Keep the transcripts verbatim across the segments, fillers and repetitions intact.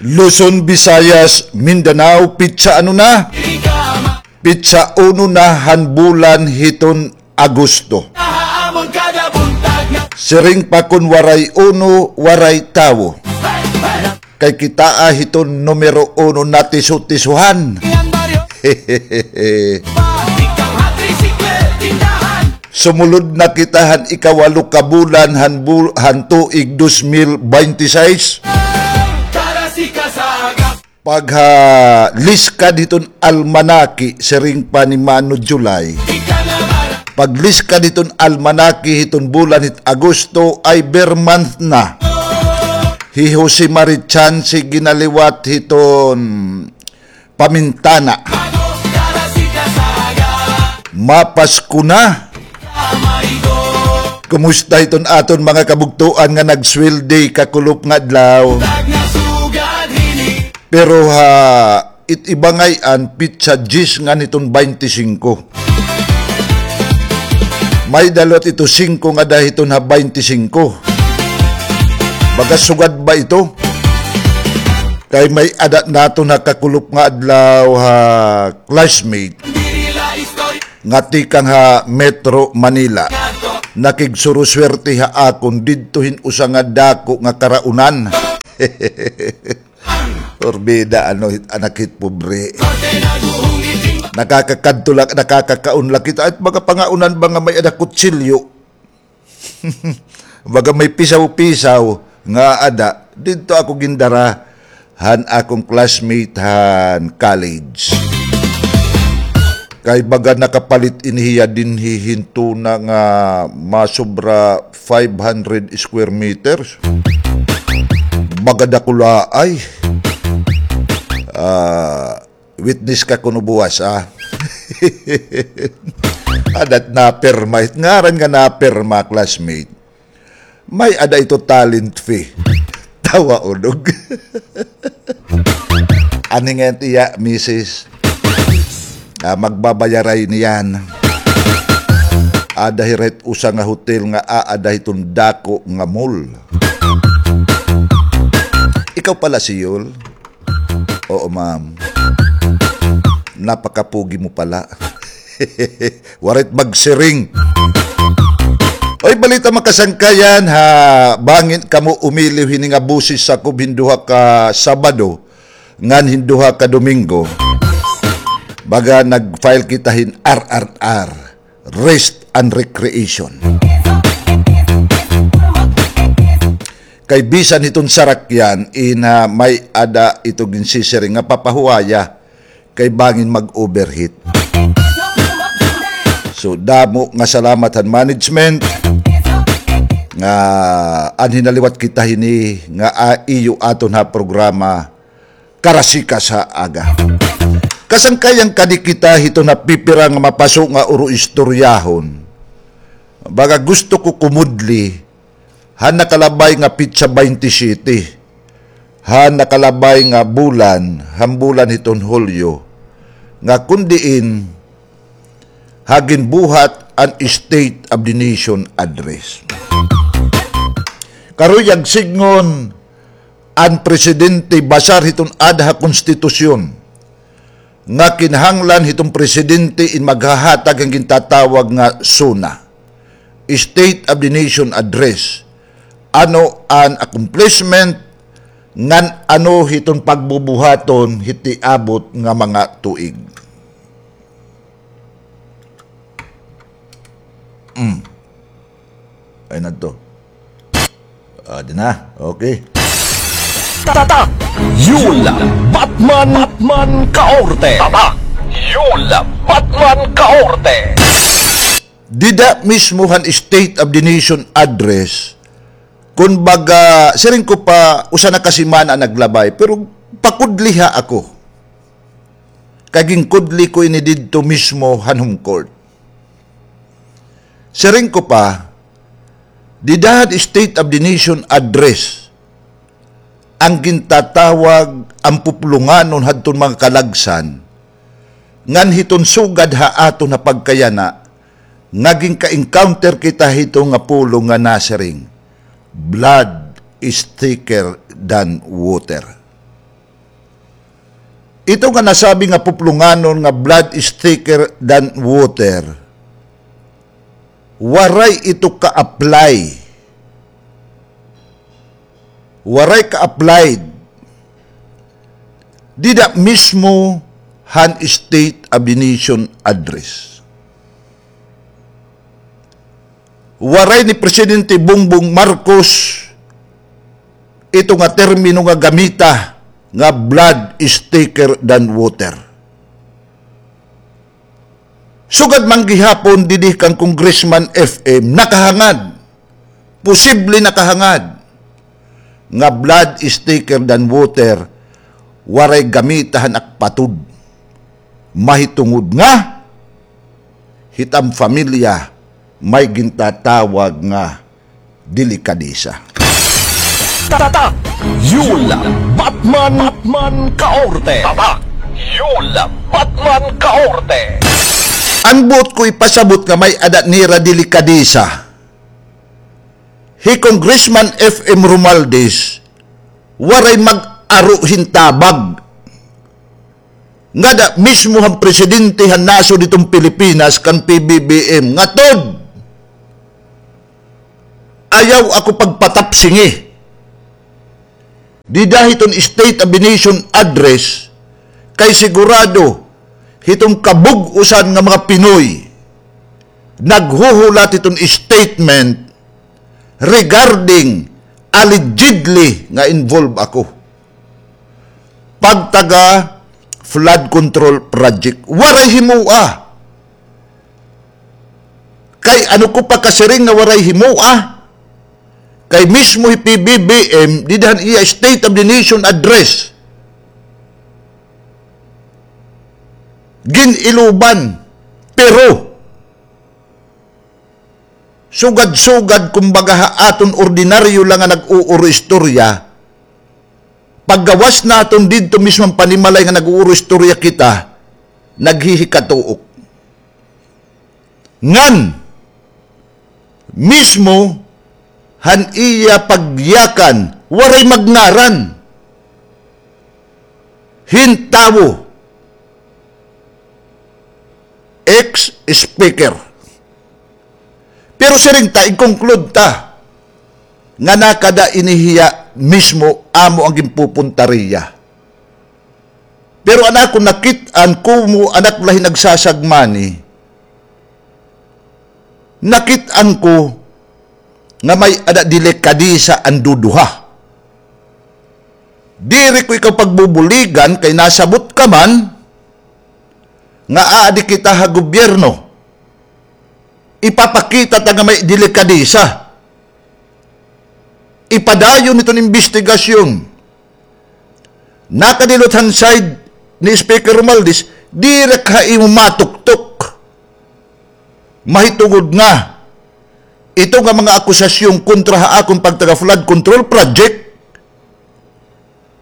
Luzon, Visayas, Mindanao, pitsa ano na? Pitsa uno na han bulan hiton Agosto. Siring pa kon waray uno, waray tawo. Kay kitaa hiton numero uno na tiso-tisohan. Sumulod na kita han ikawalo ka bulan han bul-, han tuig dos mil baynte sais. Paghaliskad hiton almanaki, siring pa ni Mano July. Pagliskad hiton almanaki hiton bulan hit Agosto ay ber month na. Hi Jose Marichan si ginaliwat hiton pamintana. Mapasko na. Kumusta hiton aton mga kabugtoan nga nagsweldi kakulop nga adlaw? Pero ha, it iba ngay-an pitsa diyes ngan hiton baynte singko. May-ada liwat ito singko nga ada hiton ha baynte singko. Baga sugad ba ito? Kay may-ada naton ha kakulop nga adlaw ha classmate nga tikang ha Metro Manila. Nakigsuruswerte ha akon didto hin usa nga dako nga karaunan. Porbida, ano, hit anak hit pobre. Nakakakadto la, nakakakaon la kita. At mga pangaunan ba nga may-ada kutsilyo? Baga may pisaw-pisaw nga ada, didto ako gindara han akon classmate han college. Kay baga nakapalit ini hiya dinhi hin tuna nga masobra five hundred square meters. Baga dakulaay. Ah, Witness ka kuno buwas, ah. Adat napirma. It ngaran nga napirma, classmate. May-ada ito talent fee. Tawa unog. Ani nga iya, misis. Ah, magbabayaray niyan. Ada hira hit usa nga hotel nga aada hiton dako nga mall. Ikaw pala si Yul? Oo, ma'am. Napakapugi mo pala. Waray it magsiring. Oy, balita, mga kasangkayan, ha, bangin kamo umiliw hini nga boses sakob hin duha ka Sabado ngan hin duha ka Domingo. Baga nag-file kita hin R R R. Rest and recreation. Kay bisan hiton sarakyan, ina, may-ada ito ginsisiring nga papahuwaya kay bangin mag-overheat. So, damo nga salamat han management nga anhi naliwat kita hini nga, ah, iyo aton ha programa Karasikas ha Aga. Kasangkayan, kadi kita hiton ha pipira nga mapaso nga uro-istoryahon. Baga gusto ko kumudli han nakalabay nga petsa baynte siyete, han nakalabay nga bulan, han bulan hiton Hulyo, nga kon diin ha ginbuhat an State of the Nation Address. Karuyag sidngon an presidente basar hiton aada ha konstitusyon nga kinahanglan hiton presidente in maghahatag han gintatawag nga SONA, State of the Nation Address, ano an accomplishment ngan ano hiton pagbubuhaton hit tiabot nga mga tuig. Mm. Ay, nadto. Ah, di na. Okay. Tatak Yul Batman, Batman Kaorte. Tatak Yul Batman Kaorte. Dida mismo han State of the Nation Address, kun baga, siring ko pa, usa na ka semana naglabay, pero pakudliha ako. Kay ginkudli ko ini didto mismo han home court. Siring ko pa, dida han State of the Nation Address, an gintatawag an puplonganon hadton mga kalagsan, ngan hiton sugad ha aton ha pagkayana, nga ginka-encounter kita hito nga pulong nga nasiring, "Blood is thicker than water." Ito nga nasabi nga puplonganon nga blood is thicker than water, waray ito ka-apply. Waray ka-applied dida mismo han State of the Nation Address. Waray ni Presidente Bongbong Marcos ito nga termino nga gamita nga blood is thicker than water. Sugad man gihapon didi kan Congressman F M, nakahangad, posible nakahangad, nga blood is thicker than water, waray gamita han akpatud. Mahitungod nga hit am pamilya may gintatawag nga delikadesa. Tatak! Yul Batman, Batman Kaorte! Tatak! Yul Batman Kaorte! An buot ko ipasabot nga may-ada nira delikadesa, hi Congressman F M Romualdez, waray mag-aro hin tabag ngada mismo han presidente han nasod hiton Pilipinas kan P B B M, ngatod ayaw ako pagpatapsingi dida hiton State of the Nation Address, kay sigurado hiton kabug-osan nga mga Pinoy naghuhulat hiton statement regarding allegedly nga involved ako pagtaga flood control project. Waray himoa. Kay ano ko pakasiring nga waray himoa? Kay mismo hi P B B M, dida han iya State of the Nation Address, gin-iloban. Pero sugad-sugad, kumbaga, ha aton ordinaryo lang nga nag-uuro istorya, paggawas naton didto mismo han panimalay nga nag-uuro istorya kita, naghihikatuok. Ngan mismo han iya pagyakan, waray magngaran hin tawo, ex-speaker. Pero siring ta, ig-conclude ta nga nakada ini hiya mismo amo an ginpupunta riya. Pero an akon nakit-an, komo an ak la hin nagsasagmani, nakit-an ko nga may-ada delikadesa an duduha. Diri ko ikaw pagbubuligan kay nasabot ka man nga aadi kita ha gobyerno. Ipapakita ta nga may delikadesa. Ipadayon hiton imbestigasyon. Nakadilot han side ni Speaker Romualdez, diri ka ha imo matuktok. Mahitungod nga ito nga mga akusasyon kontra ha akon pagtaga flood control project,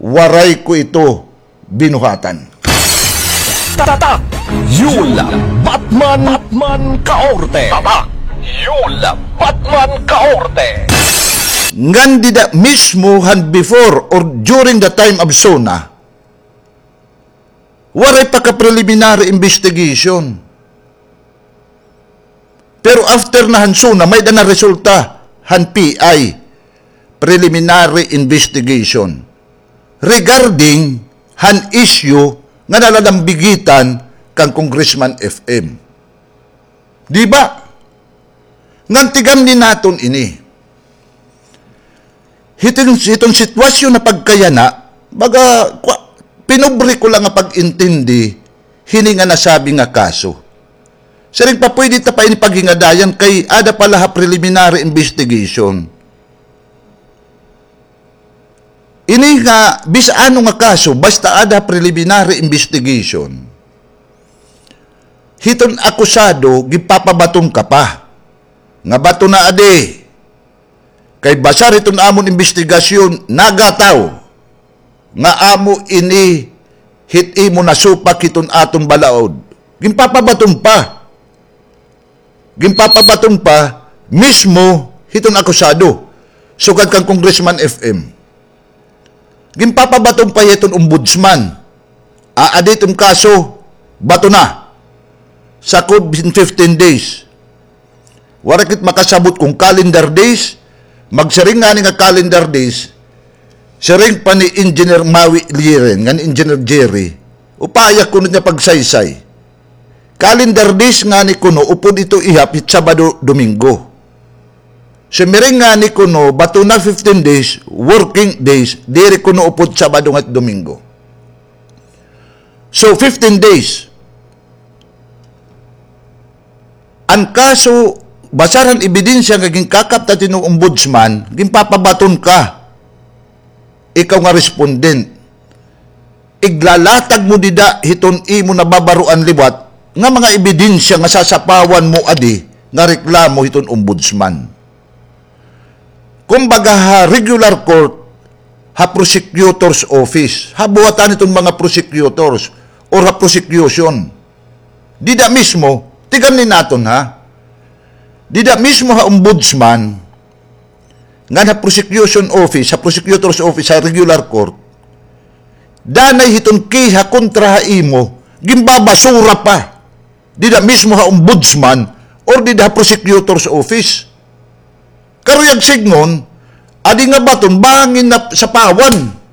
waray ko ito binuhatan. Tatak! Yul Batman, Batman Kaorte! Tatak! Yul Batman Kaorte! Ngan dida mismo han before or during the time of SONA, waray pa ka preliminary investigation. Pero after na han SONA, may-ada na resulta han P I, preliminary investigation, regarding han issue nga nalalambigitan kan Congressman F M. Di ba? Ngan tigan-i naton ini. Hiton, hiton sitwasyon na pagkayana, baga, kwa, pinobre ko lang nga pag-intindi hini nga nasabi nga kaso. Siring pa, pwede ta pa ini paghingadayan kay aada pa la ha preliminary investigation. Ini nga bisan ano nga kaso, basta aada ha preliminary investigation, hiton akusado, ginpapabaton ka pa nga bato na adi. Kay basar hiton amon imbestigasyon, nagataw nga amo ini hit imo nasupak hiton aton balaod. Ginpapabaton pa. Ginpapabaton pa mismo hiton akusado, sugad kan Congressman F M. Ginpapabaton pa hiton ombudsman. Aadi it im kaso, bato na. Sakob hin fifteen days. Waray kit makasabot kon calendar days, magsiring ngani nga calendar days, siring pa ni Engineer Mawi Liren, ngan Engineer Jerry, upaya kuno niya pagsaysay. Calendar days ngani kuno, upod ito ihap hit Sabado, Domingo. Sumiring ngani kuno, bato na fifteen days, working days, diri kuno upod Sabado ngan Domingo. So, fifteen days. An kaso, basar han ebidensya nga ginkakaptan hit im ombudsman, ginpapabaton ka. Ikaw nga respondent. Iglalatag mo dida hiton imo nababaroan liwat nga mga ebidensya nga sasapawan mo adi nga reklamo hiton ombudsman. Kumbaga, ha regular court, ha prosecutor's office, ha buhatan hiton mga prosecutors or ha prosecution. Dida mismo, tigan-i naton ha. Dida mismo ha ombudsman, ngan ha prosecution office, ha prosecutor's office, ha regular court, danay hiton kiha kontra ha imo, ginbabasura pa. Dida mismo ha ombudsman or dida ha prosecutor's office. Karuyag sidngon, adi nga baton, bangin na sapawan.